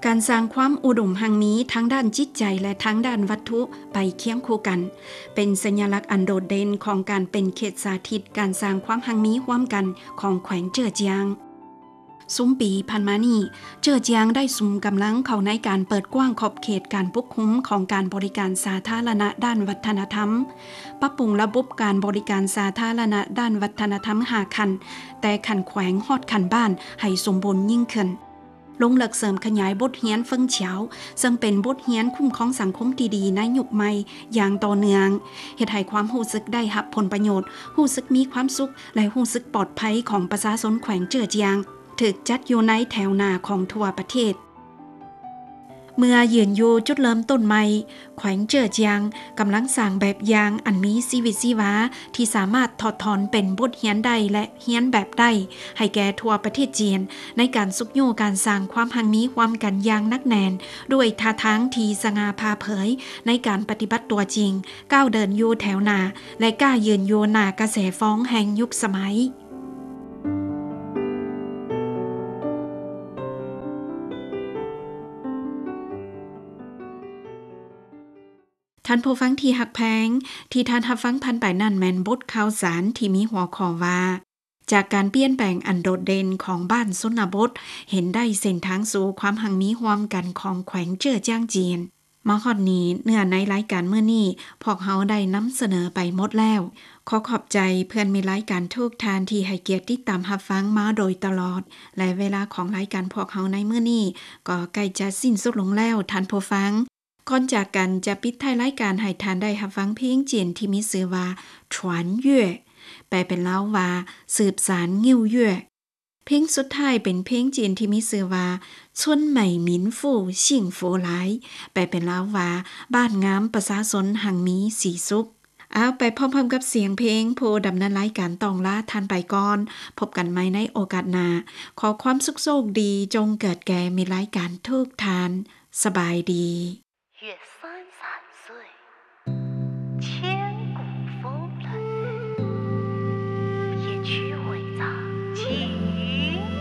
ການສ້າງຄວາມອຸດົມຮັ່ງມີທາງດ້ານຈິດໃຈ ແລະ ທາງດ້ານວັດຖຸໄປຄຽງຄູ່ກັນ ເປັນສັນຍາລັກອັນໂດດເດັ່ນຂອງການເປັນເຂດສາທິດການສ້າງຄວາມຮັ່ງມີຮ່ວມກັນຂອງແຂວງເຈີອຈຽງ. ຊຸມປີຜ່ານມານີ້ ເຈີອຈຽງໄດ້ສຸມກຳລັງເຂົ້າໃນການເປີດກວ້າງຂອບເຂດການປົກຄຸມຂອງການບໍລິການສາທາລະນະດ້ານວັດທະນະທຳ, ປັບປຸງລະບົບການບໍລິການສາທາລະນະດ້ານວັດທະນະທຳຫ້າຂັ້ນ, ແຕ່ຂັ້ນແຂວງຮອດຂັ້ນບ້ານໃຫ້ສົມບູນຍິ່ງຂຶ້ນ. ລົງເລິກເສີມຂະຫຍາຍບົດຮຽນເຟິງຂຽວ ເຊິ່ງເປັນບົດຮຽນຄຸ້ມຄອງສັງຄົມທີ່ດີໃນຍຸກໃໝ່ຢ່າງຕໍ່ເນື່ອງ, ເຮັດໃຫ້ຄວາມຮູ້ສຶກໄດ້ຮັບຜົນປະໂຫຍດ, ຮູ້ສຶກມີຄວາມສຸກ ແລະ ຮູ້ສຶກປອດໄພຂອງປະຊາຊົນແຂວງເຈີອຈຽງ ຖືກຈັດຢູ່ໃນແຖວໜ້າຂອງທົ່ວປະເທດ. ເມື່ອຢືນຢູ່ຈຸດເລີ່ມຕົ້ນໃໝ່, ແຂວງເຈີອຈຽງກຳລັງສ້າງແບບຢ່າງອັນມີຊີວິດຊີວາ ທີ່ສາມາດຖອດຖອນເປັນບົດຮຽນໄດ້ ແລະ ຮຽນແບບໄດ້ ໃຫ້ແກ່ທົ່ວປະເທດຈີນ ໃນການຊຸກຍູ້ການສ້າງຄວາມຮັ່ງມີຮ່ວມກັນຢ່າງໜັກແໜ້ນ ດ້ວຍທ່າທາງທີ່ສະຫງ່າຜ່າເຜີຍໃນການປະຕິບັດຕົວຈິງ, ກ້າວເດີນຢູ່ແຖວໜ້າ ແລະ ກ້າຢືນຢູ່ໜ້າກະແສຟອງແຫ່ງຍຸກສະໄໝ. ທ່ານຜູ້ຟັງທີ່ຮັກແພງ, ທີ່ທ່ານຮັບຟັງຜ່ານໄປນັ້ນແມ່ນບົດຂ່າວສານທີ່ມີຫົວຂໍ້ວ່າ ຈາກການປ່ຽນແປງອັນໂດດເດັ່ນຂອງບ້ານຊົນນະບົດ ເຫັນໄດ້ເສັ້ນທາງສູ່ຄວາມຮັ່ງມີຮ່ວມກັນຂອງແຂວງເຈີອຈຽງຈີນ. ມາຮອດນີ້ ເນື້ອໃນລາຍການມື້ນີ້ ພວກເຮົາໄດ້ນຳສະເໜີໄປໝົດແລ້ວ. ຂໍຂອບໃຈເພື່ອນມິດລາຍການທຸກທ່ານທີ່ໃຫ້ກຽດຕິດຕາມຮັບຟັງມາໂດຍຕະຫຼອດ ແລະ ເວລາຂອງລາຍການພວກເຮົາໃນມື້ນີ້ ກໍໃກ້ຈະສິ້ນສຸດລົງແລ້ວ, ທ່ານຜູ້ຟັງ. ກ່ອນຈາກກັນ ຈະປິດທ້າຍລາຍການໃຫ້ທ່ານໄດ້ຮັບຟັງເພງຈີນທີ່ມີຊື່ວ່າ 传越 ແປເປັນລາວວ່າ ສືບສານງິ້ວເຍື້ອ. ເພງສຸດທ້າຍເປັນເພງຈີນທີ່ມີຊື່ວ່າ 春美民富幸福来 ແປເປັນລາວວ່າ ບ້ານງາມປະຊາຊົນຮັ່ງມີສີສຸກ. ເອົາ ໄປພ້ອມໆກັບສຽງເພງ, ຜູ້ດຳເນີນລາຍການຕ້ອງລາທ່ານໄປກ່ອນ. ພົບກັນໃໝ່ໃນໂອກາດໜ້າ. ຂໍຄວາມສຸກໂຊກດີຈົ່ງເກີດແກ່ມິດລາຍການທຸກທ່ານ. ສະບາຍດີ.